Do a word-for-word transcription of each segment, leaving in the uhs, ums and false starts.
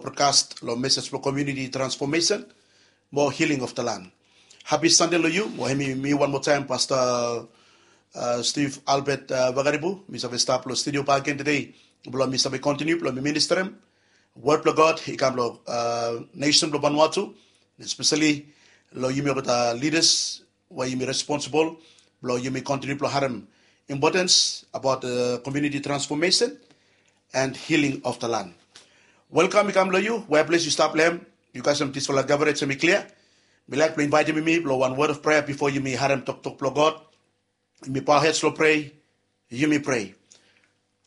broadcast lo message lo community transformation mo healing of the land. Happy Sunday lo yu. Mo hemi mi wan mo taem, Pastor uh, Steve Albert uh, Vakaribu. Mi save stap lo studio bak again today. Blo mi save continue blo mi minister em. Word blo God i kam lo uh, nation blo Vanuatu, especially lo yumi olgeta leaders we yumi responsible blo yumi continue blo harem importance about the community transformation and healing of the land. Welcome i kam lo yu, where place yu stap lo hem. Yu guys, em disfala coverage em i clear. Mi laik blo invite mi blo wan word of prayer before yumi harem toktok blo God. Yumi bow heads lo pray. Yumi pray.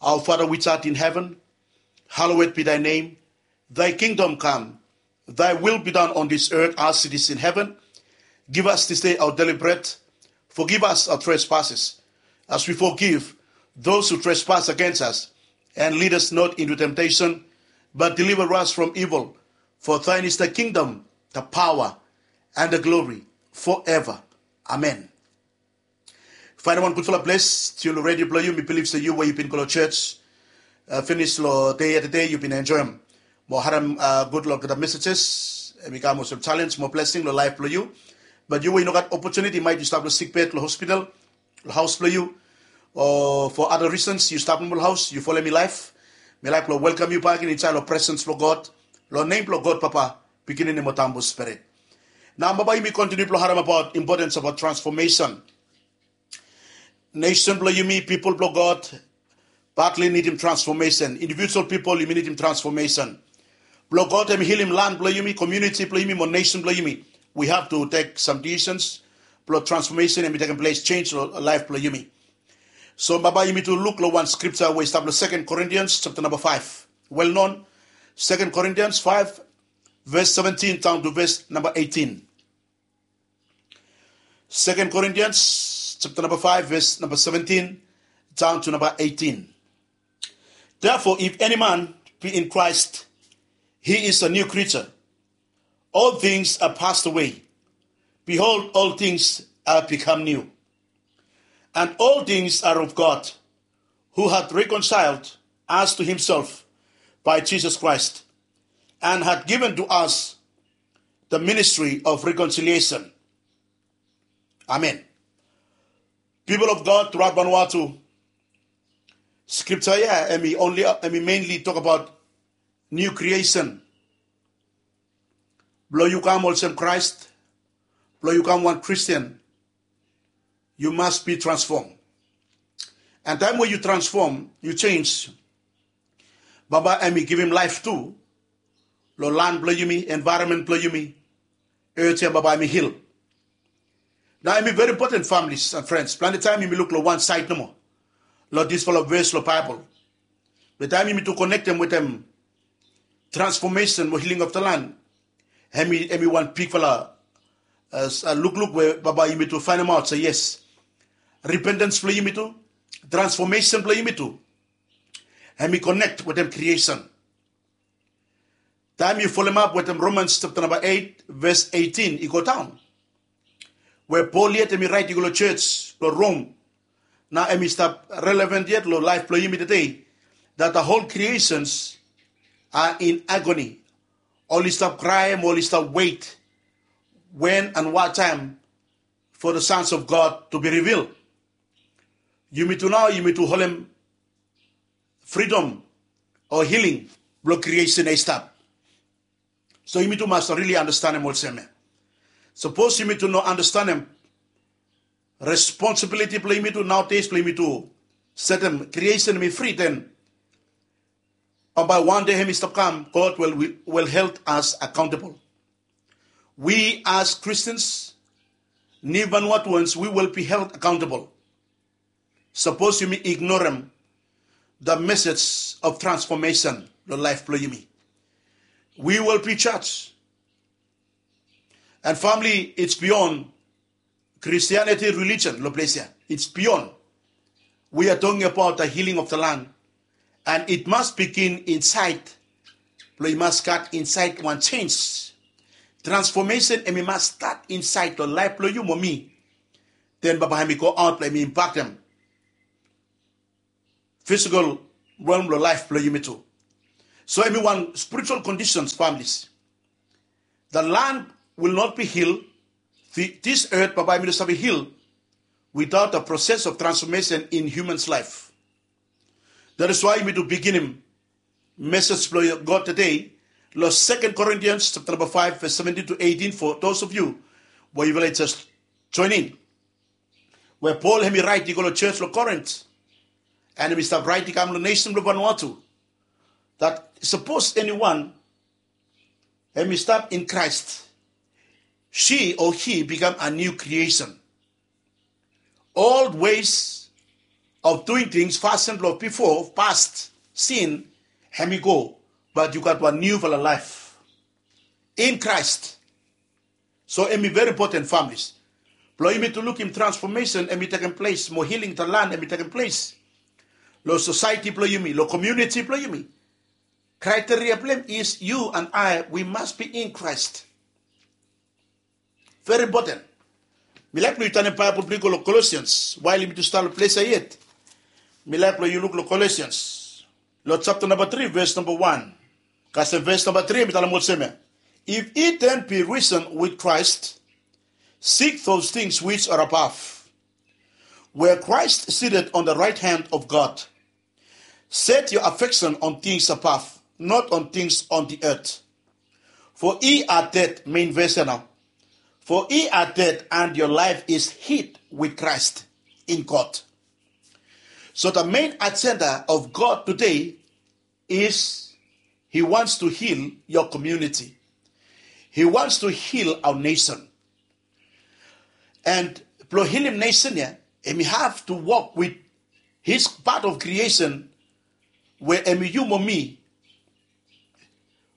Our Father which art in heaven, hallowed be thy name. Thy kingdom come. Thy will be done on this earth as it is in heaven. Give us this day our daily bread. Forgive us our trespasses, as we forgive those who trespass against us. And lead us not into temptation, but deliver us from evil. For thine is the kingdom, the power, and the glory forever. Amen. Faenem wan gudfala ples, tiun lo redio blo yu. Mi bilif se yu we yu bin go lo church uh, finis lo dei ya tede, yu bin enjoem mo harem uh, gud lo olgeta messages. Em i kam olsem challenge mo blessing lo laef blo yu. But yu we yu no gat opportunity, maet yu stap lo sick bed lo hospital, lo haos blo yu, o for other reasons yu stap nomo lo haos, yu folem mi laef, mi laef blo welcome yu bak in insaed lo presence blo God, lo nem blo God Papa, Pikinini mo Tambu Spirit. Nao bambae yumi continue blo harem about importance about transformation. Nation blo yumi, people blo God, badly nidim transformation. Individual people yumi nidim transformation. Blo God em i healim land blo yumi, community blo yumi mo nation blo yumi, we have to take some decisions blo transformation em i tekem ples, change lo laef blo yumi. So bambae yumi tu luk lo wan scripture we i stap lo Second Corinthians chapter number five. Well known, Second Corinthians five, verse seventeen down to verse number eighteen. Second Corinthians chapter number five, verse number seventeen down to number eighteen. Therefore, if any man be in Christ, he is a new creature. All things are passed away. Behold, all things are become new. And all things are of God, who hath reconciled us to himself by Jesus Christ, and hath given to us the ministry of reconciliation. Amen. People of God throughout Vanuatu, scripture ya em i only, em i mainly talk about new creation. Blo yu kam olsem Christ, blo yu kam wan Christian, you must be transformed. And taem we yu transform, yu change, bambae em i givim laef tu lo land blo yumi, environment blo yumi, earth ya bambae em i heal. Nao em i very important, families and friends. Plante taem yumi luk lo wan saed nomo lo disfala ves lo Baebol. Be taem yumi tu konektem wetem transformation mo healing of the land, em i, em i wan bigfala uh, lukluk we bambae yumi tu faenemaot se yes, repentance blo yumi tu, transformation blo yumi tu, em i connect wetem creation. Taem yu folemap wetem Romans chapter number eight, verse eighteen i go daon, we Paul yet em i raet i go lo church lo Rome. Nao em i stap relevant yet lo laef blo yumi tede, that the whole creations are in agony. Oli stap kraem, oli stap wet when and what time for the sons of God to be revealed. Yumi tu nao yumi tu holem freedom o healing blo creation i stap. So yumi tu mas really understandem olsem ya. Sapos yumi tu no understandem responsibility blo yumi tu nowadays, blo yumi tu setem creation em i free, then bambae wan dei em i stap kam, God will, will, will held us accountable. We as Christians, new Vanuatuans, we will be held accountable. Sapos yumi ignorem the message of transformation lo laef blo yumi, we will be judged. And family, it's beyond Christianity religion lo ples ya. It's beyond. We are talking about the healing of the land. And it must begin inside. Blo i mas gat insaed wan change. Transformation em i mas stat insaed lo laef blo yu mo mi. Then bambae em i go aot blo em i impaktem physical realm lo laef blo yumi tu. So hemi wan spiritual conditions, families. The land will not be healed. Thi- This earth, bambae hemi no save heal without a process of transformation in human's life. That is why yumi tu beginim message blong God today long Second Corinthians chapter number five, verse seventeen to eighteen, for those of you we yufala i just join in. We Paul hemi raet i go long church long Corinth, and hemi stap raet i kam long nation blong Vanuatu, that sapos eniwan hemi stap in Christ, she or he become a new creation. Old ways of doing things, fasin blong bifo, past sin, hemi go, but yu gat wan niufala laef in Christ. So hemi very important, families, blong yumi tu lukim transformation hemi tekem ples, mo healing the land hemi tekem ples long society blong yumi, long community blong yumi. Criteria blong hem is you and I, we must be in Christ. Very important. Mi laek blong yu tanem Baebol blong yu go long Colossians, while yumi tu stap long ples ya yet. Mi laek blong yu luk long Colossians, long chapter number three, verse number one. Kasem verse number three, mi talem olsem ya: If ye then be risen with Christ, seek those things which are above, where Christ sitteth on the right hand of God. Set your affection on things above, not on things on the earth. For ye are dead, main verse ya nao. For ye are dead, and your life is hid with Christ in God. So the main agenda of God today is he wants to heal your community. He wants to heal our nation. And blong hilim nation ya, hemi have to work with his part of creation, we hemi yu mo mi,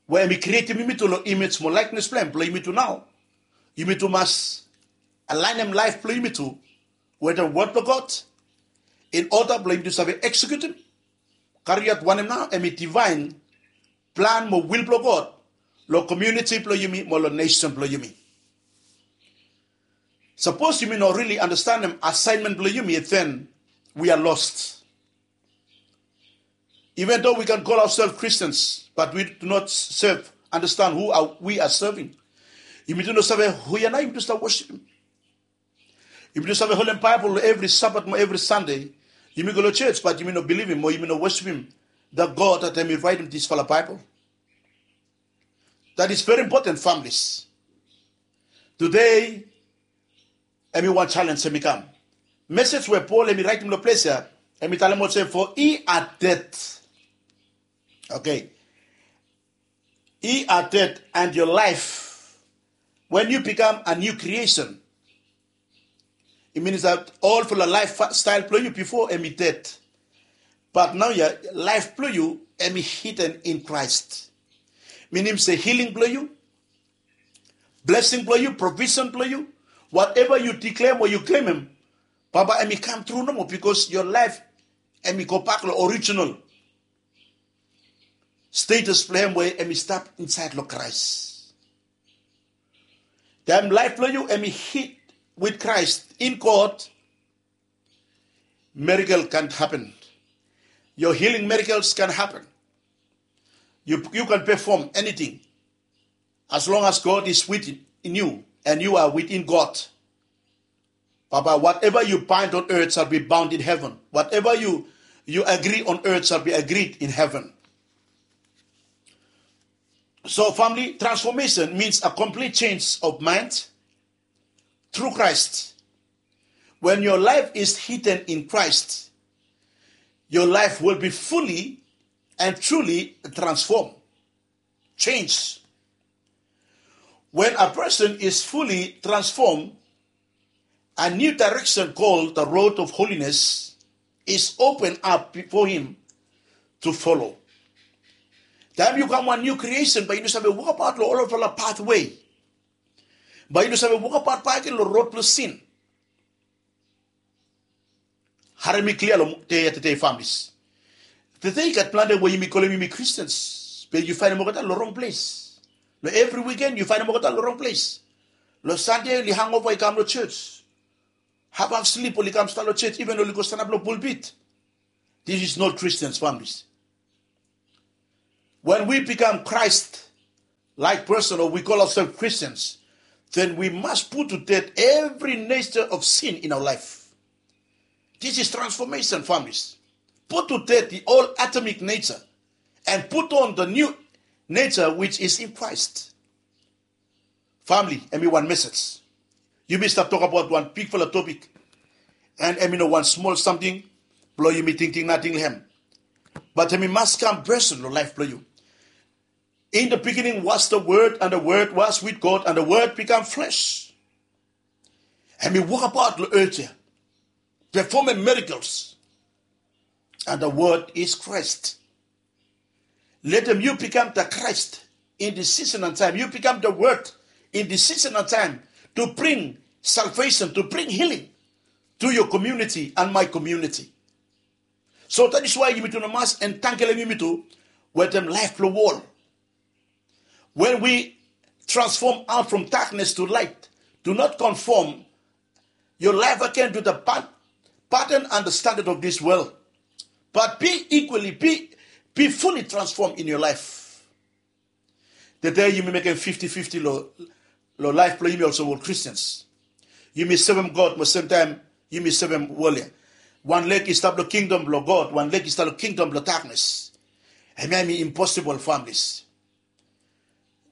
we hemi krietem yumitu long image mo likeness blong hem. Blong yumitu nao, yumitu mas alaenem laef blong yumitu wetem word blong God, in order blong yumitu save executem, kariaot wanem nao hemi divine plan mo will blong God long community blong yumi mo long nation blong yumi. Sapos yumi no really understandem assignment blong yumi, then we are lost. Even though we can call ourselves Christians, but we do not serve, understand who are, we are serving. Yumi tu no save hu ya nao yumi tu stap worshipem. Yumi tu save holem Baebol evri Sabat mo evri Sande. Yumi go long church, but yumi no bilivim mo yumi no worshipem the God that hemi raetem disfala Baebol. That is very important, families. Today, hemi wan challenge hemi kam. Message we Paul hemi raetem long ples ya, hemi talem olsem, for ye are dead. Okay. Ye are dead, and your life, when you become a new creation, it means that olfala lifestyle blong yu bifo hemi dead. But naoia, laef blong yu hemi hidden in Christ. Minim se healing blong yu, blessing blong yu, provision blong yu, whatever yu declare mo yu claimem, bambae hemi kam tru nomo, because your life hemi go bak long original status blong hem we hemi stap insaed long Christ. Taem laef blong yu hemi hid with Christ in God, miracle can happen. Your healing miracles can happen. You, you can perform anything as long as God is within you and you are within God. Baba, whatever you bind on earth shall be bound in heaven. Whatever you, you agree on earth shall be agreed in heaven. So, family, transformation means a complete change of mind through Christ. When your life is hidden in Christ, your life will be fully and truly transformed, changed. When a person is fully transformed, a new direction called the road of holiness is opened up before him to follow. Taem yu kam wan new creation, bae yu no save wokabaot long olfala pathway. Bae yu no save wokabaot bakegen long rod blong sin. Harem mi klia long dei ya tede, families. Tede i gat plante we yumi kolem yumi Christians, be yu faenem olgeta long rong ples. Long evri wiken yu faenem olgeta long rong ples. Long Sande oli hangover i kam long church. Hafhaf slip oli kam stap long church, even oli go stanap long pulpit. This is not Christians, families. When we become Christ-like person, or we call ourselves Christians, then we must put to death every nature of sin in our life. This is transformation, families. Put to death the old Adamic nature and put on the new nature which is in Christ. Famili, hemi wan message. Yumi stap tokbaot wan bigfala topic, and hemi no wan smol samting blong yumi tingting nating long hem. But hemi mas kam person long laef blong yu. In the beginning was the Word, and the Word was with God, and the Word become flesh. Hemi wokbaot long earth ya, performing miracles. And the Word is Christ. Let them you become the Christ in the season and time. You become the Word in the season and time to bring salvation, to bring healing to your community and my community. So that is why yumi tu no mas entangle yumi tu wetem laef blong wol. When we transform out from darkness to light, do not conform your life again to the pat- pattern and the standard of this world, but be equally, be, be fully transformed in your life. Tede yumi mekem fifti fifti long, long laef blong yumi olsem ol Christians. Yumi sevem God, mo semtaem yumi sevem wol ya. Wan leg i stap long kingdom blong God, wan leg i stap long kingdom blong darkness. Hemia hemi impossible, families.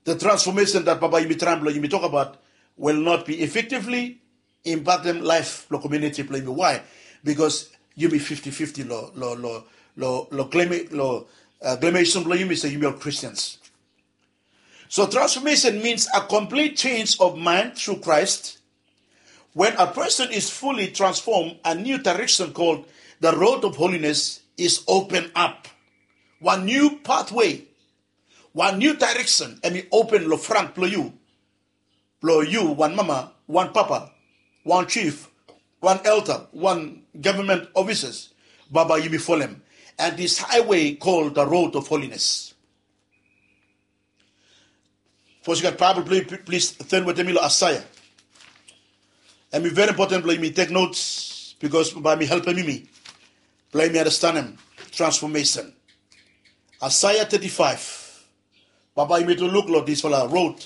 The transformation that Papa yumi traem blong yumi tokbaot will not be effectively impaktem laef blong community blong yumi. Why? Because yumi fifti fifti long, long, long, long, long claim, long, uh, claimation blong yumi se yumi ol Christians. So transformation means a complete change of mind through Christ. When a person is fully transformed, a new direction called the road of holiness is opened up. Wan new pathway, wan new direction hemi open long front blong yu. Blong yu, wan mama, wan papa, wan chief, wan elder, wan government officers, Papa yumi folem. And this highway called the road of holiness. Sapos yu gat Baebol blong yu, pl- plis turn wetem mi long Aesaya. Hemi very important blong yumi tek notes, because bae hemi helpem yumi blong yumi andastanem transformation. Aesaya thirty-five. Bambae yumi tu luk long disfala road,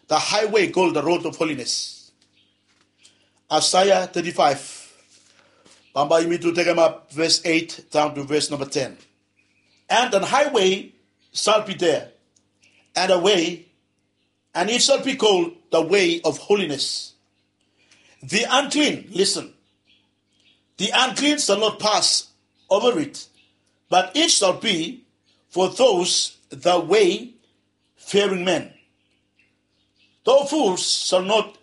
the highway called the road of holiness. Aesaya thirty-five. Bambae yumi tu tekemap verse eight down to verse number ten. And an highway shall be there, and a way, and it shall be called the way of holiness. The unclean, listen, the unclean shall not pass over it, but it shall be for those the wayfaring men. The fools shall not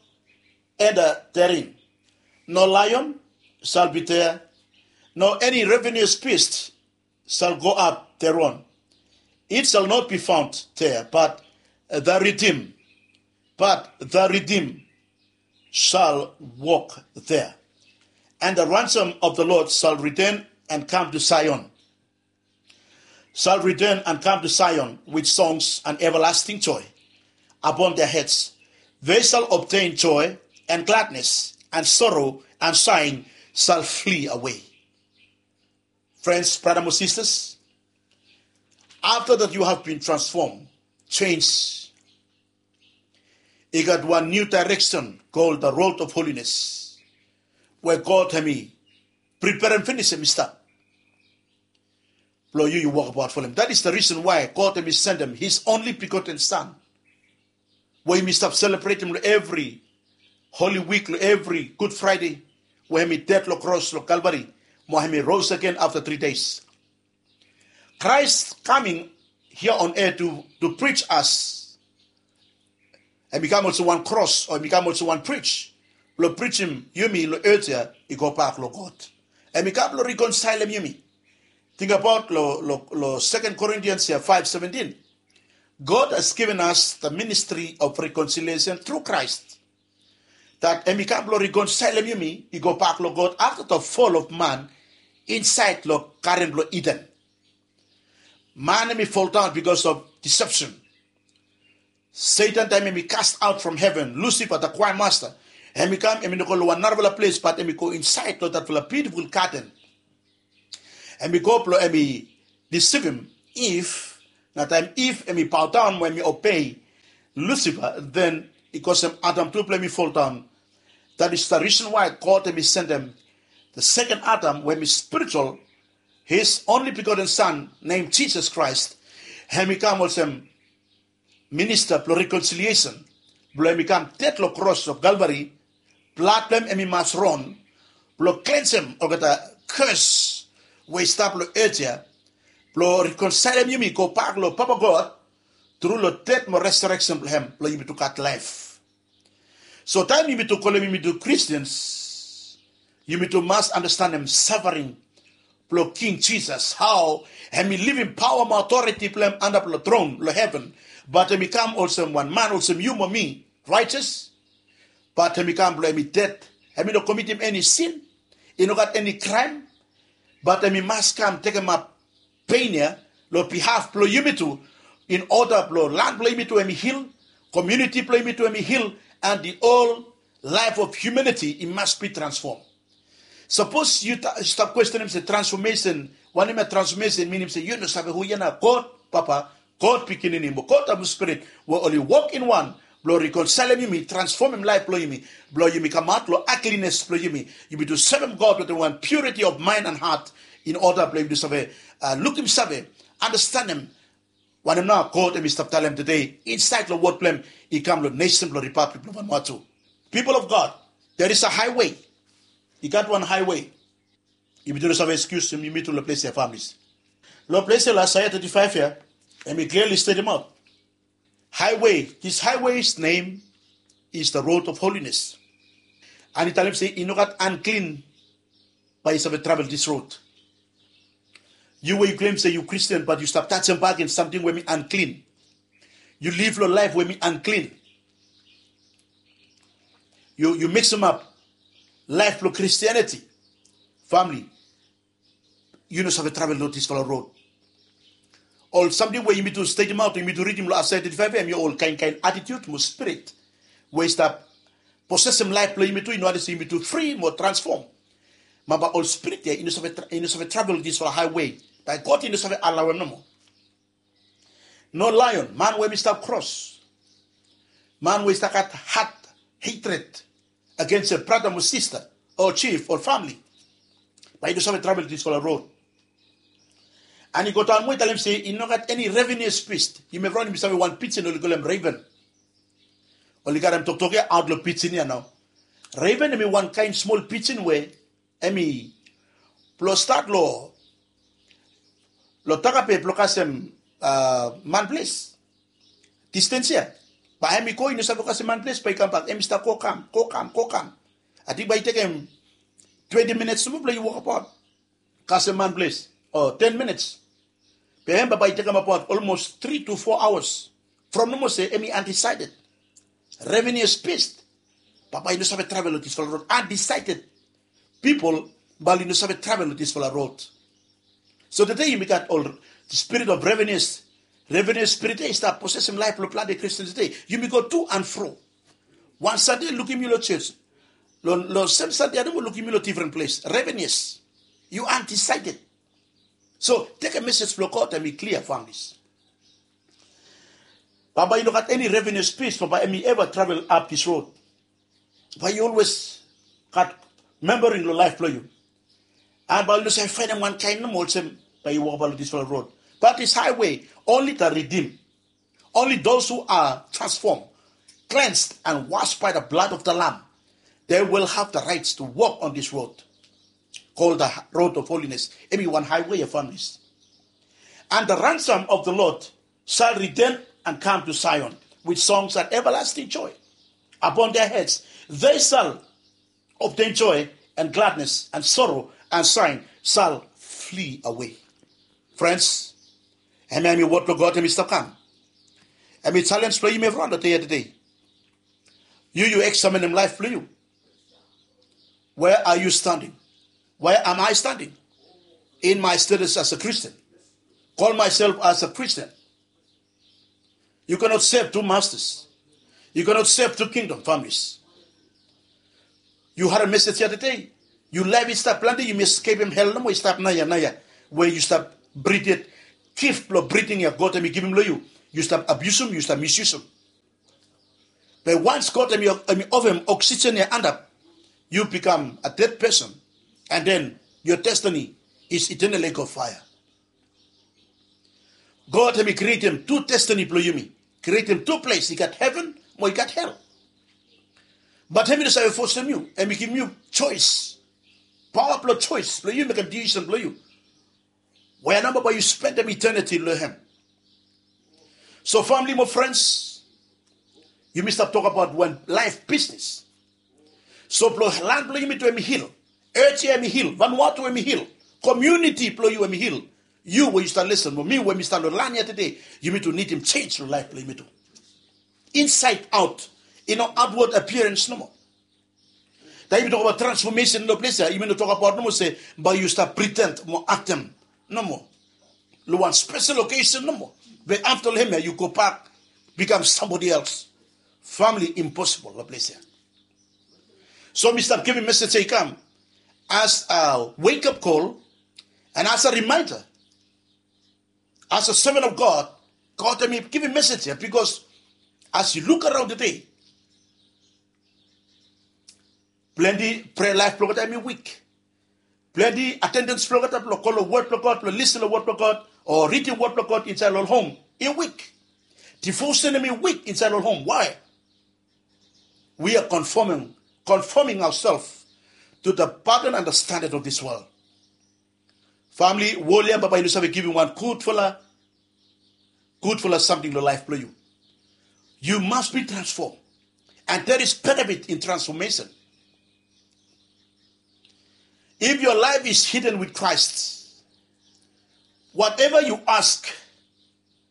enter therein, nor lion shall be there, nor any ravenous beast shall go up thereon. It shall not be found there, but the redeemed, but the redeemed shall walk there. And the ransom of the Lord shall return and come to Zion, shall return and come to Zion with songs and everlasting joy upon their heads. They shall obtain joy and gladness, and sorrow and sighing shall flee away. Friends, brother, my sisters, after that you have been transformed, changed, i gat wan new direction called the road of holiness, we God hemi preperem finis, hemi stap blong yu, yu wokbaot folem. That is the reason why God hemi sendem his only begotten Son, we yumi stap selebretem long evri Holy Week, long evri Good Friday, we hemi ded long kros long Calvary, mo hemi rose again after three days. Christ coming here on earth to, to preach us. Hemi kam olsem wan kros, o hemi kam olsem wan bridge blong brijim yumi long earth ya i go bak long God. Hemi kam blong reconcilem yumi. Tingbaot long, long, long Second Corinthians ya five seventeen. God has given us the ministry of reconciliation through Christ. That hemi kam blong reconcilem yumi i go bak long God after the fall of man insaed long Garden blong Eden. Man hemi fall down because of deception. Satan, taem hemi cast out from heaven, Lucifer, the choir master, hemi kam, hemi no go long wan narafala ples, but hemi go insaed long datfala beautiful garden. Hemi go blong hemi desivim Eve Na taem Iv hemi bow down mo hemi obei Lusifa, then i kosem Adam tu blong hemi foldaon. That is the reason why God hemi sendem the second Adam we hemi spiritual, his only begotten son named Jesus Christ, hemi kam olsem minista blong reconciliation, blong hemi kam ded long kros of Calvary. Blad blong hem hemi mas ron blong klensem olgeta curse we i stap long earth ya, blong reconcilem yumi gobak long Papa God tru long ded mo resurrection blong hem, blong yumi tu gat laef. So taem yumi tu kolem yumi tu Christians, yumi tu mas andastanem suffering blong King Jesus, hao hemi livim paoa mo authority blong hem antap long tron long heven, but hemi kam olsem wan man olsem yu mo mi, righteous, but hemi kam blong hemi ded. Hemi no komitim eni sin, i no gat eni kraem, but hemi mas kam tekemap pein ya long bihaf blong yumi tu, in order blong lan blong yumi tu hemi hil, community blong yumi tu hemi hil, and the whole life of humanity, it must be transformed. Sapos yu stap kwestenem se transformation, wanem ya transformation minim, se yu no save hu ya na God Papa, God Pikinini mo God Tabu Spirit we oli wok in wan blong reconcilem yumi, transfomem laef blong yumi, blong yumi kamaot long ugliness blong yumi, yumi tu sevem God wetem wan purity of mind and heart, in order blong yumi tu save, uh, lukimsave, andastanem wanem nao God hemi stap talem tede insaed long wod blong hem i kam long nesen blong Republic blong Vanuatu. People of God, there is a highway. I gat wan highway. Yumi tu no save excuse yumi tu long ples ya, families. Long ples ya long Isaiah thirty-five ya, hemi clearly state him out. Highway, this highway's name is the road of holiness. And i talem se i no gat unclean bae i save travel this road. Yu we yu claim se yu Christian, but yu stap tajem bakegen samting we hemi unclean. Yu liv long laef we hemi unclean. Yu, yu mixem ap laef blong Christianity. Famili, yu no save travel long disfala rod. Ol samting we yumi tu stetem aot, yumi tu ridim long Isaiah thirty-five, hemi ol kaen kaen attitude mo spirit we i stap posesem laef blong yumi tu, i no wantem se yumi tu fri mo transfom. Bambae ol spirit ya i no save tra-, i no save travel long disfala highway. Bae God i no save alaoem nomo. No lion, man we hemi stap kros, man we i stap gat hat, hatred agens brata mo sista, o chief, o famili, bae i no save travel disfala rod. And i godaon moa, i talem se i no gat eni ravenous beast. Yumi evriwan yumi save wan pijin oli kolem raven. Oli karem toktok ya aot long pijin ya nao. Raven hemi wan kaen smol pijin we hemi blong stat long, long Takape blong kasem, a, Manples. Distens ya. Bae hemi go, i no save kasem Manples, bae i kambak. Hemi stap go kam, go kam, go kam. Ating bae i tekem twenti minits nomo blong i wokabaot kasem Manples, o ten minits. Be hem bambae i tekem abaot olmos tri to fo aoas from nomo se hemi undecided. Ravenous beast. Bambae i no save travel long disfala rod. Undecided people, bae oli no save travel long disfala rod. So tede yumi gat ol spirit of ravenous. Ravenous spirit ya i stap posesem laef blong plante Christian tede. Yumi go to and fro. Wan Sande lukim yu long jos, long, long sem Sande ya nomo lukim yu long difren ples. Ravenous. Yu undecided. So tekem mesej blong God, hemi klia, families. Bambae i no gat eni ravenous beast bambae hemi eva travel ap dis rod. Bae yu olwes gat membaring long laef blong yu. And bae yu no save faenem wan kaen nomo olsem bae yu wokabaot long disfala rod. But this highway, only the redeemed, only those who are transformed, cleansed, and washed by the blood of the Lamb, they will have the rights to walk on this road called the road of holiness. Hemi wan highway ya, families. And the ransom of the Lord shall return and come to Zion with songs and everlasting joy upon their heads. They shall obtain joy and gladness, and sorrow and sighing shall flee away. Friends, hemia hemi wod blong God hemi stap kam. Hemi challenge blong yumi evriwan long dei ya tede. Yu, yu eksaminim laef blong yu. Where are you standing? Where am I standing in my status as a Christian? Call myself as a Christian. You cannot serve two masters. You cannot serve two kingdom families. Yu harem mesej ya tede. Yu laef i stap plante, yumi eskepem hel nomo, i stap naoia, naoia we yu stap brit yet. Gift blong breathing ya God hemi givim long yu, yu stap abiusim, yu stap misusum. Be once God hemi, hemi ofem oxygen ya antap, yu bikam a dead person. And then your destiny is eternal lake of fire. God hemi krietem tu destiny blong yumi. Krietem tu ples, i gat heven mo i gat hel. Bat hemi no save fosem yu, hemi givim yu choice. Paoa blong choice blong yu mekem decision blong yu. Wea namba bae yu spendem eternity long hem? So famili mo frens, yumi stap tokbaot wan laef bisnis. So blong lan blong yumi tu hemi hil. Earth ya hemi hil. Vanuatu hemi hil. Komuniti blong yu hemi hil. Yu we yu stap lisen mo mi we mi stap long lan ya tede, yumi tu nidim jenis long laef blong yumi tu. Inside out. I no outward appearance nomo. Taem yumi tokbaot transfomesen long ples ya, yumi no tokbaot nomo se bae yu stap priden mo aktem nomo long wan spesel okesen nomo. Be afta long hem ya yu gobak bikam sambodi els. Famili, imposibol long ples ya. So mi stap givim mesej ya i kam as a wake up call and as a reminder, as a servant of God. God hemi givim mesej ya bikos as yu luk araon tede, plante prea laef blong olgeta hemi wik. Plante atendens blong olgeta blong go long wod blong God, blong lisen long wod blong God, o ridim wod blong God insaed long ol hom, i wik. Devotion hemi wik insaed long ol hom. Why? We are conforming, conforming ourselves to the pattern and the standard of this world. Famili, wol ya bambae i no save givim wan gudfala, gudfala samting long laef blong yu. You must be transformed. And there is benefit in transformation. If your life is hidden with Christ, whatever you ask,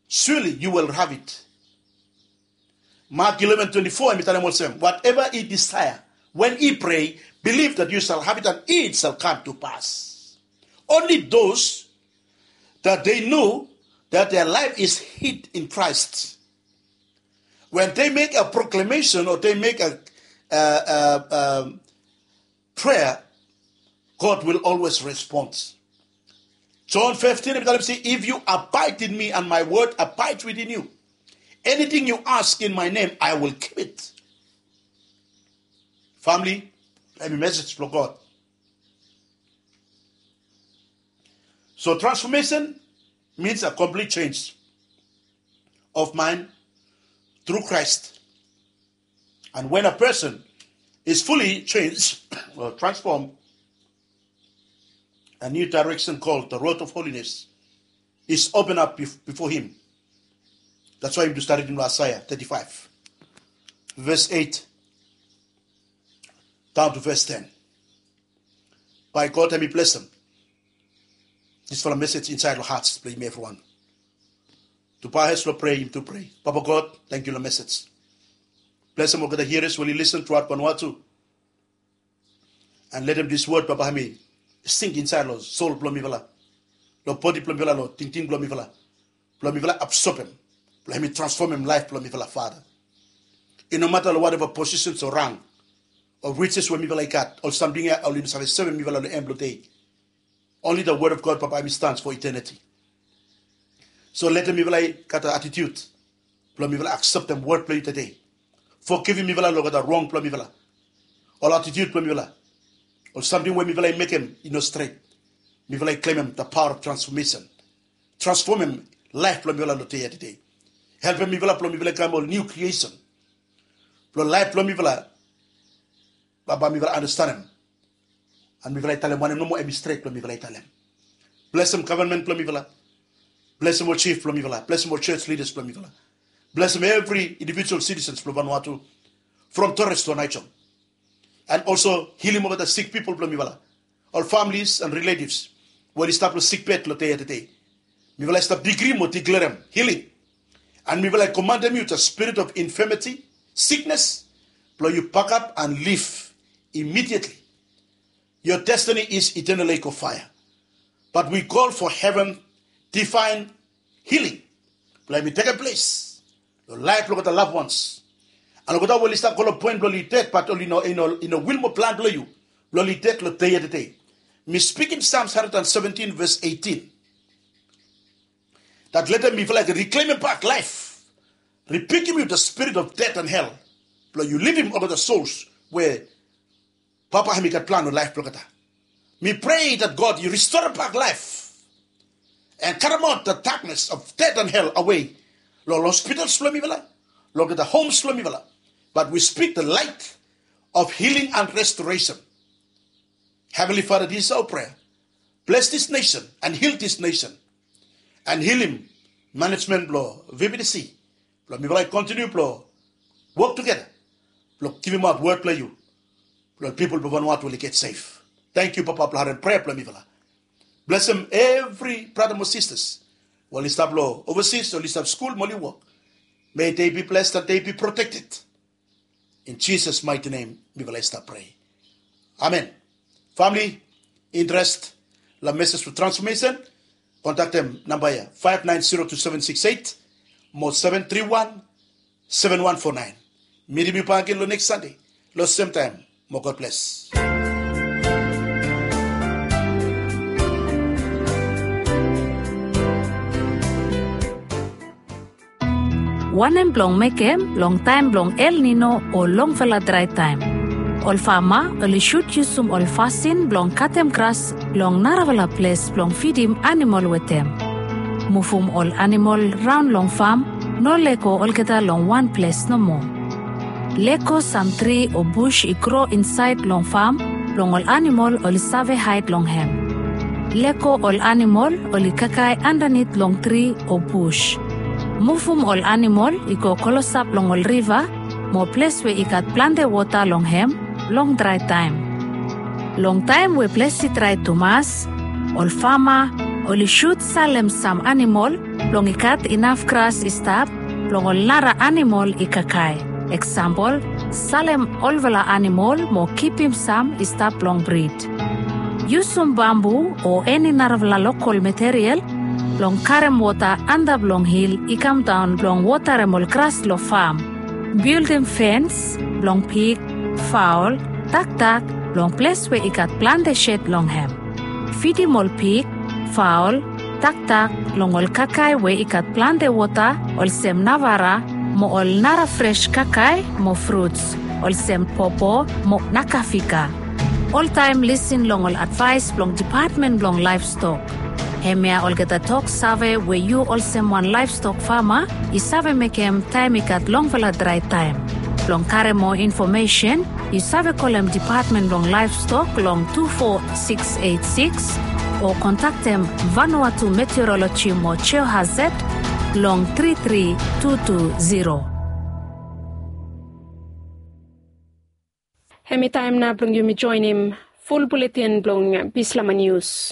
surely you will have it. Mark eleven twenty-four, hemi talem olsem, whatever ye desire, when ye pray, believe that you shall have it and it shall come to pass. Only those that they know that their life is hid in Christ, when they make a proclamation or they make a, a, a, a prayer, God will always respond. John fifteen, hemi talem se, if you abide in me and my word abide within you, anything you ask in my name, I will give it. Famili, hemi mesej blong God. So transformation means a complete change of mind through Christ. And when a person is fully changed or transformed, a new direction called the road of holiness is opened up bef-, before him. That's why yumi stap ridim long Aesea thirty-five, verse eight down to verse ten. Bae God hemi blesem disfala mesej insaed long hat blong yumi evriwan. Tabae hed long prea, yumi tu prea. Papa God, tangkiu long mesej. Blesem olgeta hearers we oli lisen truaot Vanuatu. And letem dis wod, Papa, hemi sink insaed long sol blong mifala, long bodi blong mifala, long tingting blong mifala, blong mifala absobem, blong hemi transfomem laef blong mifala, Fada. I no mata long wateva posisen o rang o rijes we mifala i gat, ol samting ya oli no save sevem mifala long en blong dei. Only the word of God, Papa, hemi stands for eternity. So letem mifala i gat atitiud blong mifala akseptem wod blong yu tede. Fogivim mifala long olgeta rong blong mifala, ol atitiud blong mifala, ol samting we mifala i mekem i no stret. Mifala i klemem the power of transformation. Transfomem laef blong mifala long dei ya tede. Helpem mifala blong mifala i kam ol niu kriesen. Blong laef blong mifala, Papa, mifala andastanem. And mifala i talem wanem nomo hemi stret blong mifala i talem. Blesem gavman blong mifala. Blesem ol jif blong mifala. Blesem ol jos lidas blong mifala. Blesem evri indivijual sitisens blong Vanuatu, from Torres to Naijohm. And also hilim olgeta sik pipol blong mifala, ol familis and riletivs we oli stap long sikbed long dei ya tede. Mifala i stap digri mo diklerem hiling. And mifala i komandem yu, the spirit of infirmity, siknes, blong yu pakap and lif immediately. Your destiny is eternal lake of fire. But we call for heaven divine healing blong hemi tekem ples long laef blong olgeta loved ones. And olgeta we oli stap go long poen blong oli ded, bat oli no, i no, i no wil mo plan blong yu blong oli ded long dei ya tede. Mi spikim Psalms hundred and seventeen, verse eighteen. Dat leta mifala i ken riklemim bak laef. Ribikim yu dat spirit of death and hell blong yu livim olgeta sols we Papa hem i gat plan long laef blong olgeta. Mi prea dat God yu ristorem bak laef and karemaot dat daknes of death and hell awe long hospitals blong mifala, long olgeta homes blong mifala. But we speak the light of healing and restoration. Heavenly Father, this is our prayer. Bless this nation and heal this nation. And healim management blong V B T C blong mifala i kontiniu blong wok tugeta blong givimaot wod blong yu blong pipol blong Vanuatu oli get sef. Tangkiu Papa blong harem prea blong mifala. Blesim evri brata mo sistas we oli stap long ovasis, oli stap skul mo oli wok. May they be blessed and they be protected. In Jesus' mighty name mifala i stap prea. Amen. Famili, interes long meses blong transfomesen, kontaktem namba ya, five nine zero two seven six eight mo seven three one seven one four nine. Mitim yu bak agen long neks Sande long semtaem. Mo God bless. Wanem blong mekem long taem blong El Nino o longfala drae taem? Ol fama oli sud yusum ol fasin blong katem gras long narafala ples blong fidim anamol wetem. Muvum ol anamol raon long fam, no lego olgeta long wan ples nomo. Lego sam tri o bus i gro insaed long fam blong ol anamol oli save haed long hem. Lego ol anamol oli kakae andanit long tri o bus. Muvum ol anamol i go klosap long ol riva mo ples we i gat plante wota long hem long drae taem. Long taem we ples i drae tumas, ol fama oli sud salem sam anamol blong i gat inaf gras i stap blong ol nara anamol i kakae. Eksampol, salem olfala anamol mo kipim sam i stap blong brid. Yusum bambu o eni narafala lokol material blong karem wota antap long hil i kamdaon blong wotarem ol gras long fam. Bildim fens blong pig, faol, dakdak long ples we i gat plante sed long hem. Fidim ol pig, faol, dakdak long ol kakae we i gat plante wota olsem navara mo ol nara fres kakae mo fruts olsem popo mo nakafika. Oltaem lisin long ol advaes blong Dipatmen blong Laevstok. Hemia olgeta tok save we yu olsem wan laevstok fama i save mekem taem i gat longfala drae taem. Blong karem moa infomesen, yu save kolem Dipatmen blong Laevstok long tu fo siks eit siks o kontaktem Vanuatu Meteoroloji mo Geohazard long tri tri tu tu ziro. Hemi taem nao blong yumi joenem ful buletin blong Bislama Nius.